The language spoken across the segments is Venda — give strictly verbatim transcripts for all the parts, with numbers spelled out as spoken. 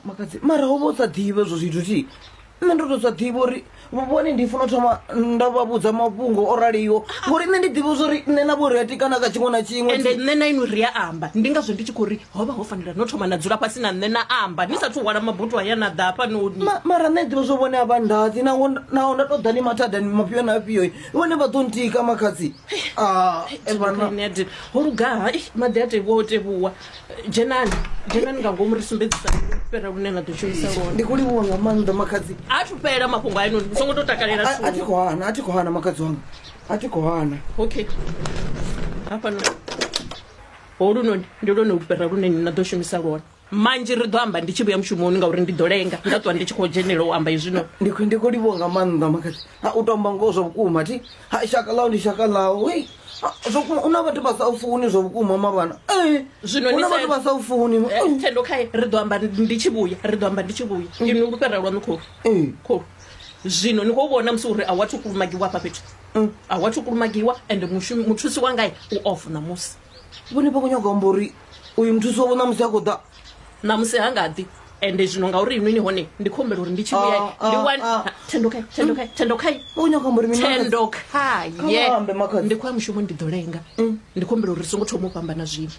Makhadzi mara ho vha u sa ḓivhe zwo zwithu thi nṋe ndo to sa ḓivha uri vhone ndi funa u thoma nda vha vhudza mafhungo o raliho ngori nṋe ndi ḓivha zwori nṋe na vho ri a tikana kha tshiṅwe na tshiṅwe Ende nṋe na inwi ri a amba, ndi ngazwo ndi tshi khou ri ho vha ho fanela no thoma na dzula fhasi na nṋe na amba ni sathu hwala mabutu aya na ḓa hafhanoni. Ma- mara nṋe ḓivha zwo vhone a vha ndaḓi naho naho nda to ḓa ni mathadani mafhio na afhio vhone vha ḓo ntika makhadzi. Ah, e vhana. Nṋe a dina. Ho lugaha maḓi a tevhuwa o tevhuwa. Dzhenani, dzhenani nga ngomu ri sumbedzisa fhera lune na ḓo shumisa lwone. Ndi khou livhuwa nga maanḓa makhadzi. A thu fhela mafhungo ainoni, ni songo to takalela. A thi khou hana, a thi khou hana makhadzi wanga, a thi khou hana. Okay, hafhano holunoni ndi lwone lufhera lune ni na ḓo shumisa lwone. Manzhi ri ḓo amba ndi tshi vhuya mushumoni ngauri ndi ḓo lenga nda ṱwa ndi tshi khou dzhenela u amba hezwino. Ndi khou ndi khou livhuwa nga maanḓa makhadzi. Ha u to amba ngoho zwa vhukuma thi ha shaka ḽau ndi shaka ḽau. Hei, zwa vhukuma u na vhathu vha sa u funi zwa vhukuma mavhana. Ee, Zwino hu ni na sa- vhathu vha sa u funi. Eh, Thendo khae ri ḓo amba ndi tshi vhuya, ri ḓo amba ndi tshi vhuya. Inwi lufhera lwaṋu kholu. Ee. Kholu. Zwino ni khou vhona musi uri a wathu kulumagiwa hafha fhethu. A wathu kulumagiwa ende mushumi muthusi wanga u off ṋamusi. Vhone vha khou nyaga u amba uri uyu muthusi wavho ṋamusi a khou ḓa. Ṋamusi ha nga ḓi. Ende zwino ngauri inwi ni hone ndi khou humbela uri ndi tshi vhuya Ah, ndi ah, wane ah. Thendo khae, Thendo khae, Thendo khae. Vha khou nyaga u amba uri mini makhadzi? Thendo khaye. Kha vha ambe, makhadzi. Ndi khou ya mushumo ndi ḓo lenga. Ndi khou humbela uri ri songo thoma u fhambana zwino.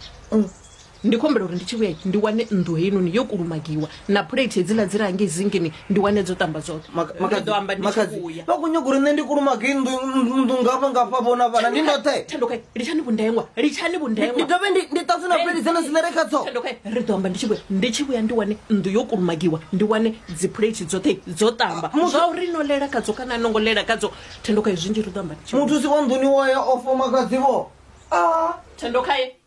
Ndi khou humbela uri ndi tshi vhuya ndi wane nnḓu heinoni yo kulumagiwa na phuleithi hedziḽa dzi re hangei zingini ndi wane dzo tamba dzoṱhe. Maka- Ri makhadzi, ḓo amba ndi tshi makhadzi, vhuya. vha khou nyaga uri nṋe ndi kulumage nnḓu nnḓu ngafha ngafha vhona vhana ndi ndoṱhe. Thendo khae, litshani vhundengwa, litshani Ndi vhundengwa. dovhe ndi ndi ṱanzwe na phuleithi dzine dziḽa re kha dzo. Thendo khae, ri ḓo amba ndi tshi vhuya, ndi tshi vhuya ndi wane nnḓu yo kulumagiwa, ndi wane dzi phuleithi dzoṱhe dzo tamba. Muthu- Zwa uri no lela khadzo kana a no ngo lela khadzo, Thendo khae zwinzhi ri ḓo amba ndi tshi vhuya. Muthusi wa nḓuni wa ya ofo makhadzi vho. Ah. Thendo khae.